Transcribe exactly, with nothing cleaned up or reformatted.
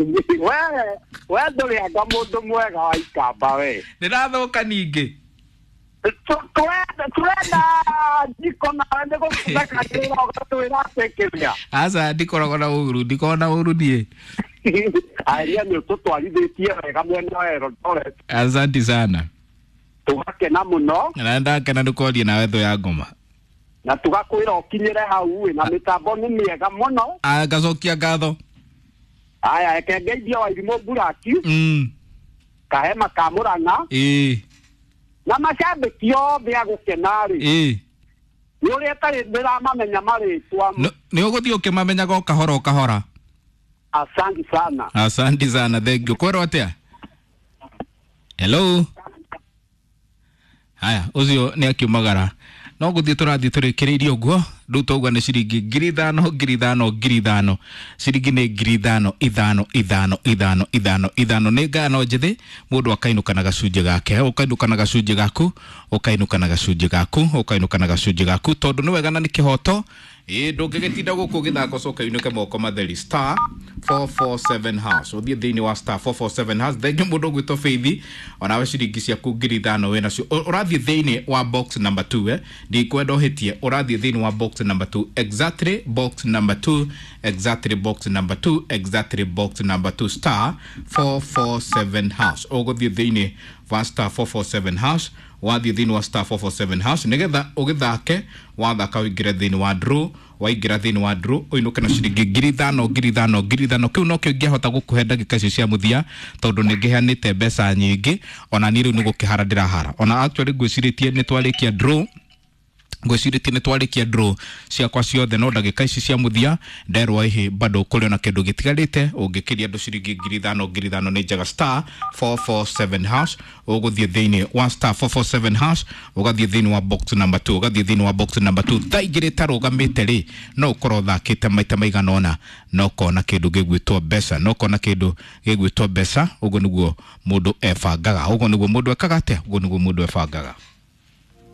We we ndũrĩ anga mũndũ mwega wa ikamba we. Ndĩrathũka ningĩ. Tũrenda tũrenda njiko nawe nĩ gũthekagĩrĩra ũgatwĩra atĩ kĩrĩa. Aca, ndikoragwo na ũru, ndikoragwo na ũru niĩ. Aria nĩ ũtũtwarithĩtie wega mwena wa Eldoret. Asante sana. Tũgakena mũno. Na ndakena nĩ kwaria nawe, thũ ya ngoma. Na tũgakwĩra ũkinyĩre hau ĩ, na mĩtambo nĩ mĩega mũno. Ah, ngacokia ngatho. Aya, reke ngeithie Wairimũ Buraki, Mm. Kahema ka Mũrang'a Ĩĩ. na macambĩki othe a gũkena rĩ. Ĩĩ. Nĩ ũrĩa ĩtarĩ ndĩramamenya marĩtwa. Nĩ ũgũthiĩ ũkĩmamenyaga o kahora o kahora. Asante sana. Asante sana, thank you. Kwĩrwo atĩa? Hello. Haya, ũcio nĩ akiumagara. No gũthiĩ tũrathiĩ tũrĩkĩrĩirie ũguo. Rĩu tauga nĩ ciringi ngiri ithano, ngiri ithano, ngiri ithano. Ciringi nĩ ngiri ithano, ithano, ithano, ithano, ithano, ithano. Nĩ ngano njĩthĩ, mũndũ akainũka na gacunjĩ gake, ũkainũka na gacunjĩ gaku, ũkainũka na gacunjĩ gaku, ũkainũka na gacunjĩ gaku, tondũ nĩ wega na nĩ kĩhoto. Ĩĩ, ndũngĩgĩtinda gũkũ ũgĩthaka ũcoke ũinũke moko matheri. Star four four seven hash, ũthiĩ thĩinĩ wa star four four seven hash. Thengiũ mũndũ ũgwĩtwo Faith, onawe ciringi ciaku ngiri ithano wĩ nacio. Ũrathiĩ thĩinĩ wa box number two, eh, ndikwenda ũhĩtie, ũrathiĩ thĩinĩ wa box number two, exactly box number two, exactly box number two, exactly box number two, star four four seven hash. Ũgũthiĩ thĩinĩ wa star four four seven hash, wathiĩ thĩinĩ wa star four four seven hash nĩgetha ũgĩthake, wathaka ũingĩre thĩinĩ wa draw, waingĩra thĩinĩ wa draw ũinũke na ciringi ngiri ithano, ngiri ithano, ngiri ithano. Kĩu nokĩo ingĩahota gũkũhe ndagĩka icio cia mũthia, tondũ nĩ ngĩheanĩte mbeca nyingĩ, ona niĩ rĩu nĩ gũkĩhara ndĩrahara. Ona actually ngwĩcirĩtie nĩ twarĩkia draw, ngwĩcirĩtie nĩ twarĩkia draw ciakwa ciothe, no ndagĩka ici cia mũthia nderwo ĩhĩ bado kũrĩ ona kĩndũ gĩtigarĩte. Ũngĩkĩria andũ ciringi ngiri ithano, ngiri ithano nĩ njega. Star four four seven hash, ũgũthiĩ thĩinĩ wa star four four seven hash, ũgathiĩ thĩinĩ wa box number two, ũgathiĩ thĩinĩ wa box number two. Thaa igĩrĩ ĩtarũgamĩte rĩ, no ũkorwo ũthakĩte maita maigana ũna na ũkona kĩndũ gĩgwĩtwo mbeca, na ũkona kĩndũ gĩgwĩtwo mbeca. Ũguo nĩguo mũndũ ebangaga, ũguo nĩguo mũndũ ekaga atĩa, ũguo nĩguo mũndũ ebangaga.